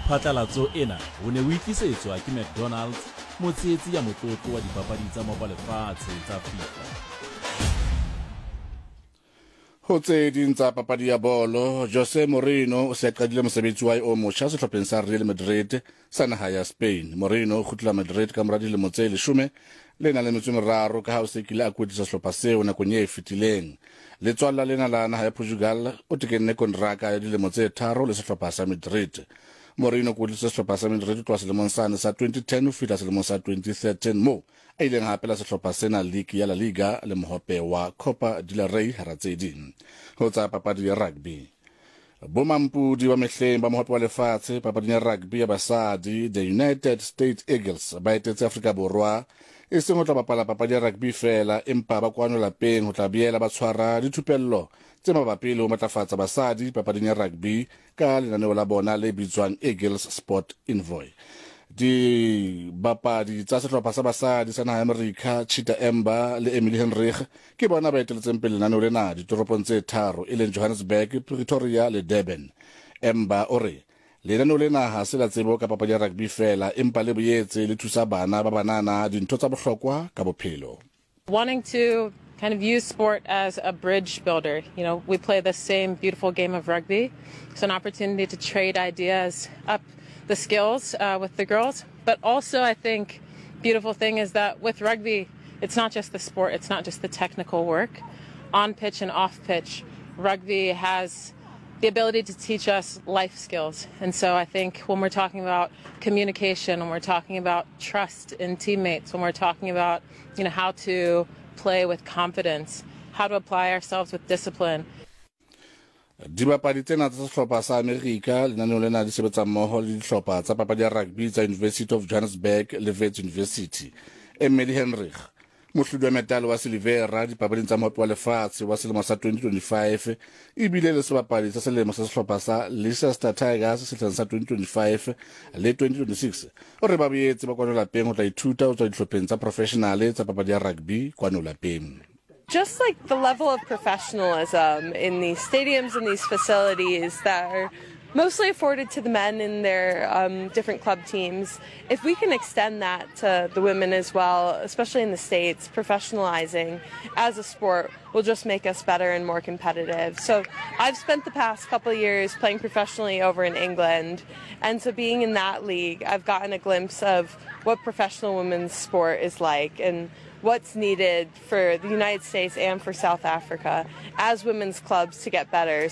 Phatlalatso ena o ne o e tlisetswa ke McDonald's, motshehetsi ya motlotlo wa dipapadi tsa Mopa Lefatshe tsa FIFA. Ho tse ding tsa papadi ya bolo, Jose Mourinho o se a qadile mosebetsi wa hae o motjha sehlopheng sa Real Madrid sa naha ya Spain. Mourinho o kgutlela Madrid ka mora dilemo tse leshome le nang le metso e meraro ka ha o se kile a kwetlisa sehlopha seo nakong e fetileng. Letswalla lena la naha ya Portugal o tekenne kontraka ya dilemo tse tharo le sehlopha sa Madrid. Mourinho o kwetlisitse sehlopha sa Madrid ho tloha selemong sane sa 2010 ho fihla selemong sa 2013 moo a ileng a hapela sehlopha sena liki ya La Liga le mohope wa Copa del Rey hara tse ding. Ho tsa papadi ya rugby, Bomampodi ba mehleng ba mohope wa lefatshe papading ya rugby ya basadi, the United States Eagles, ba etetse Afrika Borwa e seng ho tla bapala papadi ya rugby feela, empa ba kwano lapeng ho tla boela ba tshwara dithupello tse mabapi le ho matlafatsa basadi papading ya rugby ka lenaneo la bona le bitswang Eagles Sport Envoy. Dibapadi tsa sehlopha sa basadi sa naha ya Amerika, Cheetah Amber le Emily Henrich, Ke bona ba eteletseng pele lenaneo lena ditoropong tse tharo e leng Johannesburg, Pretoria le Durban. Emba o re, Lenaneo lena ha se la tsebo ka papadi ya rugby feela empa le boetse le thusa bana ba banana dintho tsa bohlokwa ka bophelo. Wanting to kind of use sport as a bridge builder. You know, we play the same beautiful game of rugby. It's an opportunity to trade ideas up the skills uh, with the girls. But also, I think, beautiful thing is that with rugby, it's not just the sport, it's not just the technical work. On pitch and off pitch, rugby has the ability to teach us life skills. And so I think when we're talking about communication, when we're talking about trust in teammates, when we're talking about, you know, how to play with confidence, how to apply ourselves with discipline. Dibapadi tsena tsa sehlopha sa Amerika lenaneong lena di sebetsa mmoho le dihlopha tsa papadi ya rugby tsa University of Johannesburg le Wits University. Emily Henrich, mohlodi wa metale wa silivera dipapading tsa Mohope wa Lefatshe wa selemo sa 2025, e bile le sebapadi sa selemo sa sehlopha sa Leicester Tigers sehleng sa 2025 le 2026, o re ba boetse ba kwano lapeng ho tla ithuta ho tswa dihlopheng tsa profeshenale tsa papadi ya rugby kwano lapeng. Just like the level of professionalism in these stadiums and these facilities that are mostly afforded to the men in their um, different club teams. If we can extend that to the women as well, especially in the States, professionalizing as a sport will just make us better and more competitive. So I've spent the past couple of years playing professionally over in England. And so being in that league, I've gotten a glimpse of what professional women's sport is like and what's needed for the United States and for South Africa as women's clubs to get better.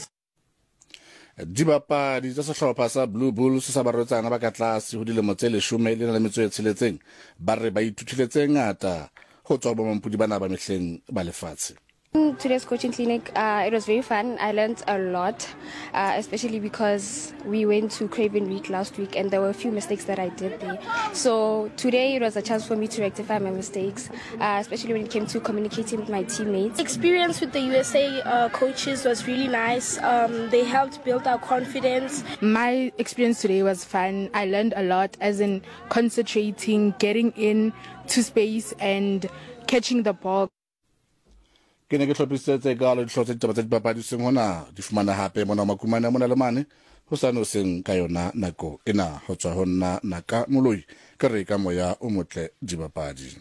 Dibapadi tsa sehlopha sa Blue Bulls sa barwetsana ba ka tlase ho dilemo tse leshome le na le metso e tsheletseng ba re ba ithutile tse ngata ho tswa ho bomampodi bana ba mehleng ba lefatshe. Today's coaching clinic, uh, it was very fun. I learned a lot, uh, especially because we went to Craven Week last week and there were a few mistakes that I did there. So today it was a chance for me to rectify my mistakes, uh, especially when it came to communicating with my teammates. Experience with the USA uh, coaches was really nice. Um, they helped build our confidence. My experience today was fun. I learned a lot, as in concentrating, getting in to space and catching the ball. Ke ne ke hlophisitse tse kaalo dihlooho tsa ditaba tsa dipapadi hoseng hona. Di fumana hape mona ho Makumane a mona le mane hosane hoseng ka yona nako ena. Ho tswa ho nna Naka Moloi, ke re ka moya o motle dibapadi.